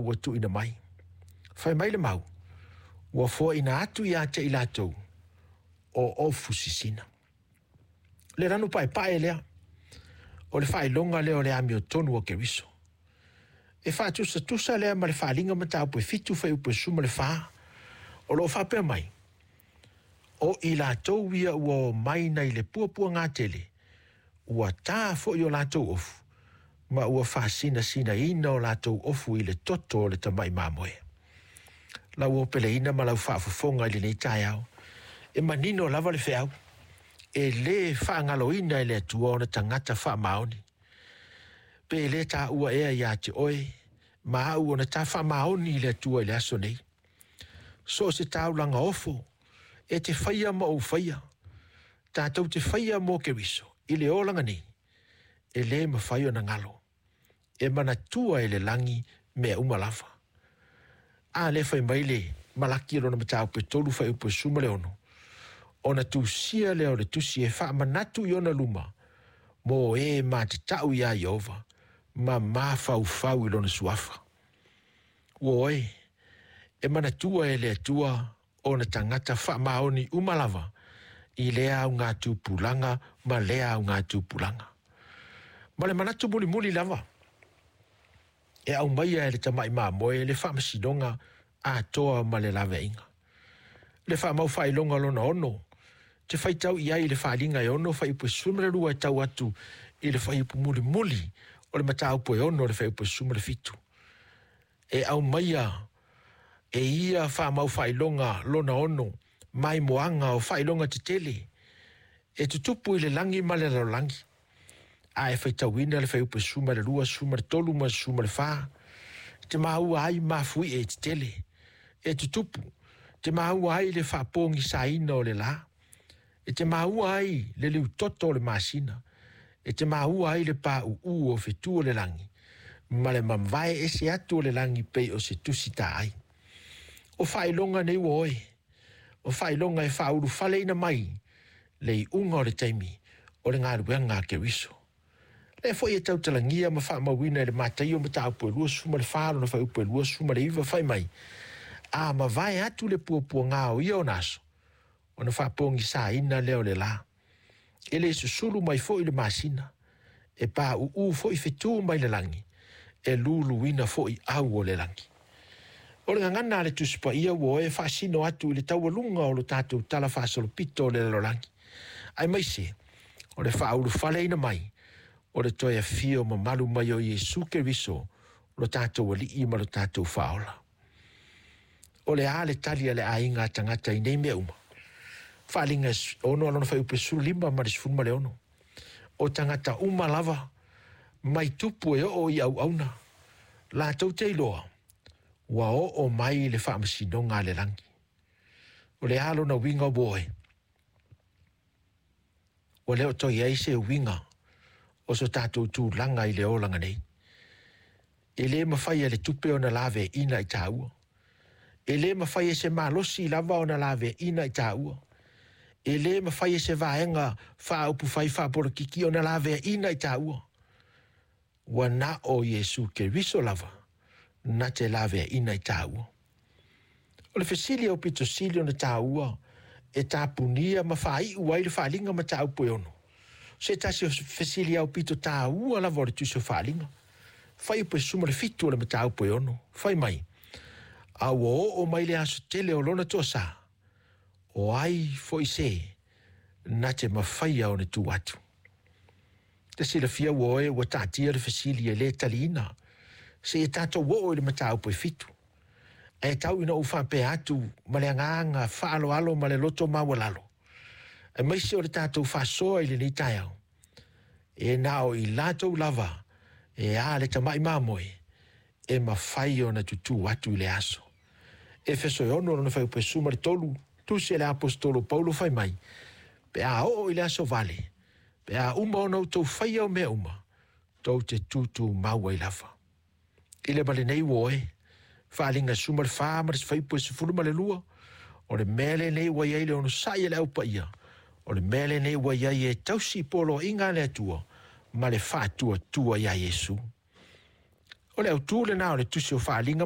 ua tuuina mai. Fai mai le mau, ua foaiina atu ia te i latou o ofu sisina. Le lanu paepae lea, o le faailoga lea o le amiotonu o Keriso. E faatusatusa lea ma le Faaaliga mataupu e 7 fuaiupu e 14, o lo o faapea mai, o i latou ia ua omai nai le puapuaga tele, ua ta foi o latou ofu, ma ua faasinasinaina o latou ofu i le toto o le tamai mamoe. Lau opeleina ma lau faafofoga i lenei taeao, e manino lava le feau, e le faagaloina e le Atua ona tagata faamaoni. Pe le taua ea ia te oe ma au ona ta faamaoni i le Atua i le aso nei? So o se taulaga ofo e te faia ma ou faia, tatou te faia mo Keriso i le olaga nei, e le mafai ona galo. E manatua e le lagi mea uma lava. A lea fai mai le Malaki lona mataupu e 3 fuaiupu e 16, ona tusia lea o le tusi e faamanatu i ona luma mo e matatau iā Ieova ma mafaufau i lona suafa. Ua oe, e manatua e le Atua ona tagata faamaoni uma lava i lea augatupulaga ma lea augatupulaga. Ma le manatu mulimuli lava, e aumaia e le tamai mamoe le faamasinoga atoa ma le laveaiga. Le faamau faailoga lona 6, te faitau i ai i le Faaaliga e 6 fuaiupu e 12 e tau atu i le fuaiupu mulimuli o le mataupu e 6 o le fuaiupu e 17. E aumaia e ia faamau faailoga lona 6 maimoaga o faailoga tetele e tutupu i le lagi ma le lalolagi. A e faitauina le fuaiupu e 12, 13 ma 14, te maua ai mafui e tetele e tutupu, te maua ai le faapogisaina o le la, e te maua ai le liutoto o le masina, e te maua ai le pauu o fetu o le lagi, ma le mavae ese atu o le lagi pei o se tusi taai. O faailoga nei ua oe, o faailoga e faaulufaleina mai le iuga o le taimi o le galuega a Keriso. Lea foi e tautalagia ma faamauina e le Mataio mataupu e 24 lona fuaiupu e 29 fai mai, a mavae atu le puapuaga o ia ona aso, ona faapogisaina lea o le la. E le susulu mai foi le masina, e pauu foi fetu mai le lagi, e luluina foi au o le lagi. O le gagana a le Tusi Paia ua oe faasino atu i le taualuga o lo tatou tala faasolopito o le lalolagi, aemaise o le faaulufaleina mai o le toe afio mamalu mai o Iesu Keriso, lo tatou Alii ma lo tatou Faaola. O le a le tali a le aiga a tagata i nei mea uma? Faaaliga 6 lona fuaiupu e 15 ma le 16. O tagata uma lava mai tupu e oo i auauna, latou te iloa ua oo mai le faamasinoga a le lagi. O le a lona uiga ua oe? Ua le o toe i ai se uiga o so tatou tulaga i le olaga nei. E le mafai e le tupe ona laveaiina i taua. E le mafai e se malosi lava ona laveaiina i taua. E le mafai e se vaega faaupufai faapolokiki ona laveaiina i taua. Ua na o Iesu Keriso lava na te laveaiina i taua. O le fesili aupito sili ona taua e tapunia ma faaiu ai le Faaaliga mataupu e 6. Se tasi o fesili aupito taua lava o le tusi o Faaaliga. Fuaiupu e 17 o le mataupu e 6. Fai mai, a ua oo mai le aso tele o lona toasa, o ai foi se na te mafaia ona tu atu. Te silafia ua oe ua taatia le fesili e le taliina, se i tatou oo i le mataupu e 7. Ae tau ina ou faapea atu ma le agaga faaaloalo ma le loto maualalo, aemaise o le tatou faasoa i lenei taeao, e na o i latou lava e a le tamai mamoe e mafai ona tutū atu i le aso. Efeso e 6 lona fuaiupu e 13, tusi e le aposetolo Paulo fai mai, pe a oo i le aso vale, pe a uma ona outou faia o mea uma, tou te tutumau ai lava. I le ma lenei ua oe, Faaaliga 14 ma le fuaiupu e 12, o le mea lenei ua i ai le onosai a le Au Paia, o le mea lenei ua i ai e tausi poloaiga a le Atua ma le faatuatua iā Iesu. O le autu lena o le tusi o Faaaliga.